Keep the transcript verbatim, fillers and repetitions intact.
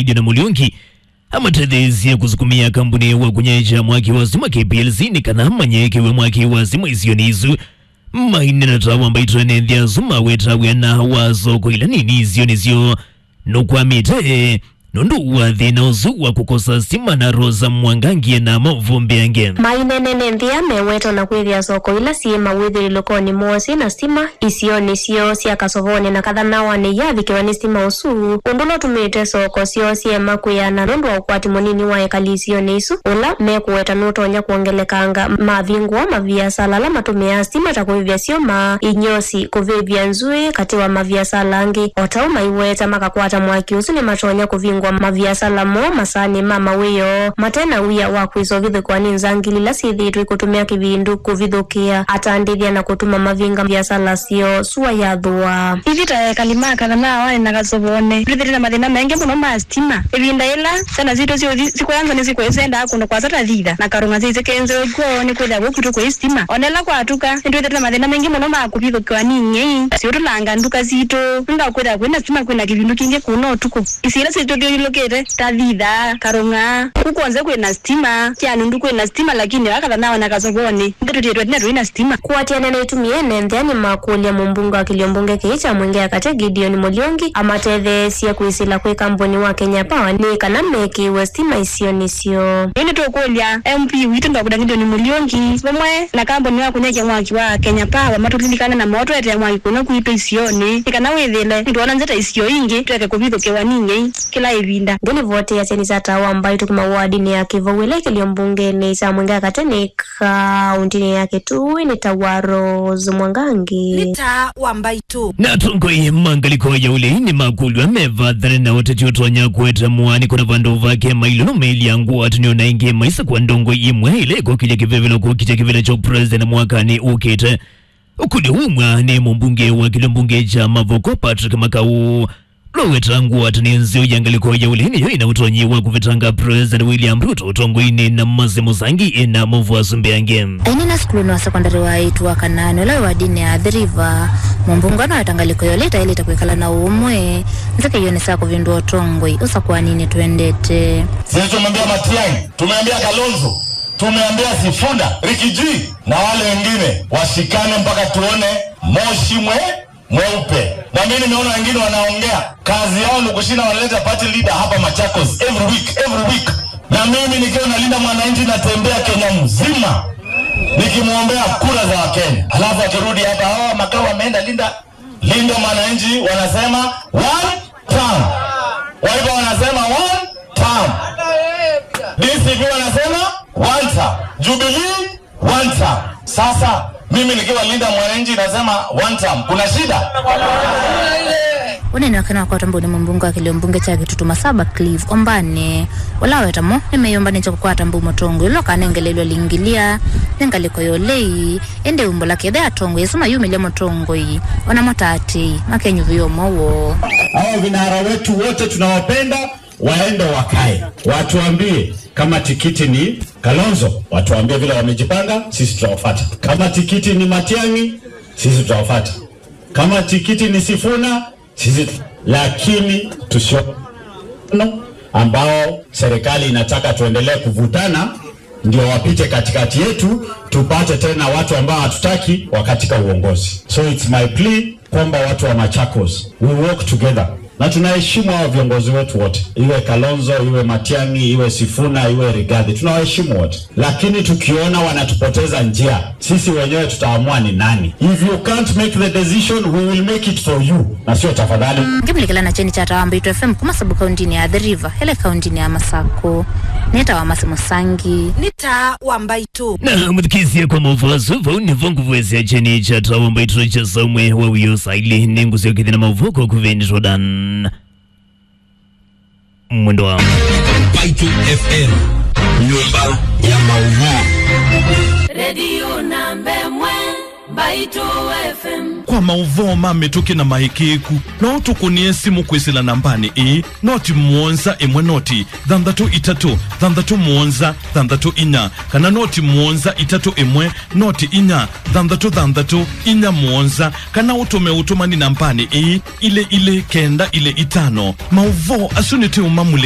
Gideon Muliungi amatetheesye kũsukumĩa kambuni wa kũnyaĩĩkya mwaki wa stima K P L C nĩ kana manyaĩĩkĩwe mwaki wa stima isionĩ isu. Maineena ta wa Mbaitũ, ene nthĩ asu maweta wĩa na wa soko ila nini isionĩ syoo nũkwamĩte nũndũ wa thĩna ũsu wa kũkosa stima. Na Rosa Mwangangi ena maũvoo mbeange. Maineena ene nthĩ aa meweta na kwĩthĩa soko ila syĩ mawĩthĩlĩlũkonĩ moo syĩ na stima isionĩ syoo sya Kasovonĩ na Kathanawanĩ iyavikĩwa nĩ stima ũsu, ũndũ ũla ũtumĩte soko syoo syema kwĩana nũndũ wa ũkwati mũnini wa ekali isionĩ isu, ũla mekũweta nũtonya kwongelekanga mavingũa maviasala ala matũmĩaa stima ta kũvĩvya syũma, inyosi, kũvĩvya nzũĩ, katĩ wa maviasala angĩ. O ta ũu maiweta, makakwata mwaki ũsu nĩmatonya kũvingũa maviasala moo, masaanĩ ma mawĩoo, mate na wia wa kwĩsovithũkĩwa nĩ nzangili ila syĩthĩĩtwe ikũtũmĩa kĩvindu kũvithũkĩa atandĩthya na kũtuma mavinga viasala syoo. Sua yathũa. Ithyĩ ta ekali ma Kathanawanĩ na Kasovonĩ, twĩthĩĩtwe na mathĩna maingĩ mũno ma stima. Ĩvinda yĩla syana sitũ syũthi sikwea nza nĩsikwĩsendaa kũndũ kwasa ta Thitha na Karũng'a syĩsĩ kenzeo kwoo nĩkwĩthĩa kũu kwitũ kwĩ stima. O na ĩla kwatuka, nĩtwĩthĩĩtwe na mathĩna maingĩ mũno ma kũvithũkĩwa nĩ ing'ei, siũtũlanga nduka sitũ, nũndũ wa kwĩthĩa kwĩna stima kwĩna kĩvindu kingĩ kũna ũtukũ. Isio ila syĩtũthyũlũlũkĩte ta Thitha, Karũng'a, kũu kw'onthe kwĩna stima, Kĩanundu kwĩna stima, lakini vaa Kathanawanĩ na Kasovonĩ, nĩtũtiĩtwe tene tũi na stima. Kũatĩanĩa na itumi, ene nthĩ aa nĩmakũlya mũmbunge wa kĩlio mbunge kĩĩ kya Mwingi ya Katĩ, Gideon Muliungi, amatetheesye kwĩsĩla kwĩ kambuni wa Kenya Power nĩ kana mekĩĩwe stima isionĩ syoo. Ĩĩ nĩtũkũlya M P witũ Doctor Gideon Muliungi vamwe na kambuni wa kũnyaĩĩkya mwaki wa Kenya Power matũlilikane na moo tũetee mwaki kũna kwitũ isionĩ, nĩ kana wĩthĩle nĩtwona nzĩa ta isio ingĩ tũeke kũvithũkĩwa nĩ ing'ei kĩla ĩvinda. Ngĩlivoti ya kyeni kya Taa wa Mbaitũ kuma wardinĩ ya Kĩvou ĩla ĩkĩlio mbungenĩ kya Mwingi ya Katĩ nĩ kaũntĩnĩ ya Kitui nĩ ta wa Rose Mwangangi. Nĩ Taa wa Mbaitũ. Na atongoi ma ngalĩko ya ũlei nĩmakũlw'a mevathane na ũteti ũtonya kũete mũaanĩko na vandũ vake mailũlũmĩĩlya ngwatanĩo na ĩngĩ maisakũa ndongoi imwe ila ikokĩlya kĩvevelo kũkitya kĩvĩla kya president mwakanĩ ũkĩte. Ũkũlyo umwa nĩ mũmbunge wa kĩlio mbunge kya Mavoko, Patrick Makau. Loweta ngwatanĩo nzeo ya ngalĩko ya ũlei nĩyo ĩna ũtonyi wa kũvetanga President William Ruto ũtongoinĩ na Mercy Musangi ĩna maũvoo asu mbeange. Ainena sukulunĩ wa sekondalĩ wa aĩtu wa Kanaani ũla wĩ wardinĩ ya Athi River, mũmbunge no weta ngalĩko ya ũlei ĩtaĩlĩte kwĩkala na ũũmwe nzĩkĩonĩ sya kũvĩndũa ũtongoi ũsakũaninĩ twendete. Sisi tumeambia Matiang'i, tumeambia Kalonzo, tumeambia Sifuna, Rigiji na wale wengine washikane mpaka tuone moshi mwe mweupe. Na mimi nimeona wengine wanaongea, kazi yao ni kushinda wanaleta party leader hapa Machakos every week, every week. Na mimi nikiwa nalinda mwananchi, natembea Kenya mzima nikimwombea kura za Wakenya. Alafu akirudi hapa, hawa Makau ameenda linda, linda mwananchi, wanasema one term. Wiper wanasema one term. D C P wanasema one term. Jubilee one term. Sasa mimi nikiwa linda mwananchi nasema one term. Kuna shida? Ũnene wake nĩwakwatwa mbau nĩ mũmbunge wa kĩlio mbunge kya Kitutu Masaba Cliff Ombane, ũla aweta mo nĩmeyũmbanĩtye kũkwata mbau mũtongoi ũla ũkanengelelw'a lingilia nĩ ngalĩko ya ũlei, ĩndĩ umbũla kethĩa atongoi asu mayumĩlya mũtongoi, ona mo ta atĩĩ makenyuvĩa ũmwe woo. Hao vinara wetu wote tunawapenda, waende wakae, watuambie kama tikiti ni Kalonzo, watuambie vile wamejipanga, sisi tutawafuata. Kama tikiti ni Matiang'i, sisi tutawafuata. Kama tikiti ni Sifuna, sisi tu-, lakini tusio ambao serikali inataka tuendelee kuvutana ndio wapite katikati yetu, tupate tena watu ambao hatutaki wa katika uongozi. So it's my plea kwamba watu wa Machakos, we work together. Na tunaheshimu hao viongozi wetu wote, iwe Kalonzo, iwe Matiang'i, iwe Sifuna, iwe Rigathi, tunawaheshimu wote. Lakini tukiona wanatupoteza njia, sisi wenyewe tutaamua ni nani. If you can't make the decision, we will make it for you. Na sio tafadhali. Ngĩmũlikĩla na kyeni kya Taa wa Mbaitũ F M kuma sub-kauntinĩ ya Athi River, ĩla kauntinĩ ya Masakũ. Nĩ Taa wa Mercy Musangi. Nĩ Taa wa Mbaitũ. Na mũthikĩĩsya kwa maũvoo asu, vau nĩvo ngũvwesya kyeni kya Taa wa Mbaitũ kya saa ũmwe wa wĩoo saa ilĩ. Nĩngũsyokethya na maũvoo kwa kũvĩndĩtwa Dan Mwendwa. Mbaitũ F M, nyũmba ya maũvoo. Redio namba ĩmwe, Mbaitũ F M. Kwa maũvoo ma mĩtũkĩ na maĩkĩĩku, no ũtũkũnĩe simũ kwĩsĩla nambanĩ ĩĩ, noti mũonza ĩmwe noti thanthatũ itatũ thanthatũ mũonza thanthatũ inya, kana noti mũonza itatũ ĩmwe noti inya thanthatũ thanthatũ inya mũonza, kana ũtũme ũtũmani nambanĩ ĩĩ, ilĩ ilĩ kenda ilĩ itano. Maũvoo asu nĩtũũmamulĩka